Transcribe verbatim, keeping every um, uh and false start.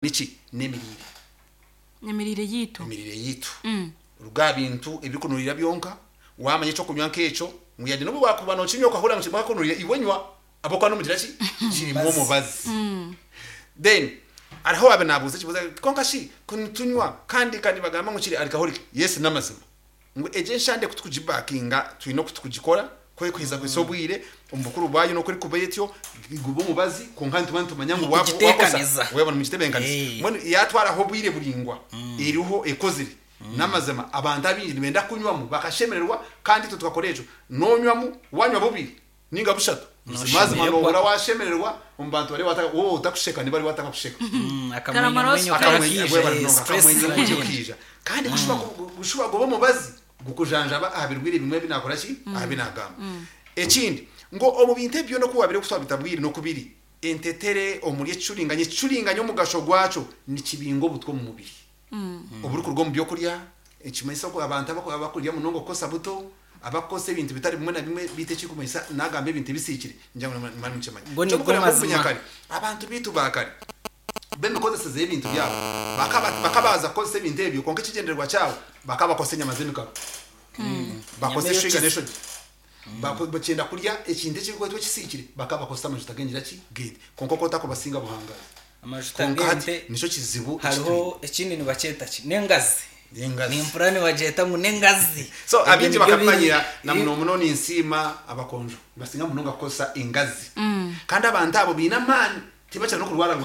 Niki? N'emiriire. Emiriire yiitu. Emiriire yiitu. Ruga aha bintu ebirikunurira byonka, waamanya ekyokunywa nk'ekyo, ngu yade n'obu waakuba nookinywa okahurira ngu kirimu akakunurira, iwe nywa ahabw'okuba n'omugira ki? Kirimu omubazi. Then hariho owaabaire naabuuza ekibuuzo ati, kwonka shi ku nitunywa kandi ka nibagamba ngu kiri alcoholic? Yes n'amazima ngu egi enshande ku tukugibakinga twine oku tukugikora ku erikuheza kuhitsya obwire omu bukuru bwayo n'oku erikuba etyo, guba omubazi kwonka nituba nitumanya ngu wakosa Mukugiteekanisa. Waaba nimugitebeekanisa. Eh. Mbwenu yaatwaraho obwire buraingwa eriho ekozire, n'amazima abantu abaingi nibenda kunywamu bakashemererwa kandi itwe tukakora ekyo. Noonywamu, waanywa bubiri ninga bushatu, buzimazima Noshemererwa. noohurira waashemererwa omu bantu bariyo bata waaba otakusheka nibo bariyo batakakusheka. Mm, Karamara akamwenyumwenyu Akamwenyo karakiija, webare eh, munonga, stress akamwenyumwenyu ziragyenda. kaija. Kandi gushuba gu- gushuba guba omubazi gukujanjaba aha birwaire bimwe ebi naakora ki? Aha bi naagamba. Ekindi, ngu omu bintu ebi byona oku waabaire twabita bwire n'oku biri, entetere omuri ekicuringanya, ekicuringanya omugasho gwakyo nikibinga obutwa omu mubiri. Oburikuruga omu byokurya, ekimanyisa oku abantu abaku- abakurya munonga okukosa buto, abakukozesa ebintu bitari bimwe na bimwe beitu ekirikumanyisa naagamba ebintu ebisiikire, ningira ngu nimumara mukimanya. Go nigwo Eky'okureeba ngu mazima. omunyakare, abantu beitu ba kare, b'emikozeseze y'ebintu byabo, bakaba bakabaza kukozesa ebintu ebyo kwonka ekigyendererwa kyabo bakaba bakozesa enyama z'emikaro. Bakozesa Enyama eshwiga eyokeze. n'eshogi. Bako- Bakyenda kurya ekintu ekirikwetwa ekisiikire, bakaba bakozesa amajuta g'engira ki? G'ente. Kwonka okwo otakubasinga buhangaazi. Amajuta Kwonka hati g'ente nikyo kizibu ekitwine. Hariho ekindi nibakyeta ki? N'engazi. N'engazi. Nimpurira nibagyeta ngu n'engazi. So Ebyo abingi nibyo biri. bakabimanyira na muno muno ninsiima abakonjo nibasinga munonga kukozesa engazi. Kandi abantu abo baine amaani tibakira n'okurwara.